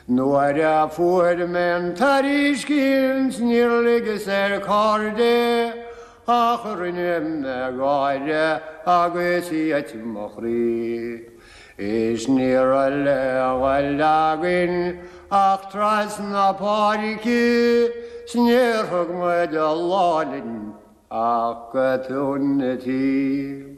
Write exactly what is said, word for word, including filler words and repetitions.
Nuair a fuair mé an tairiscint níor ligeas ar cairde ach rinne mé gáire agus thit mo chroí. Is ní raibh le dhul againn ach trasna páirce 's níor thug muid an lá linn ach go tóin an tí.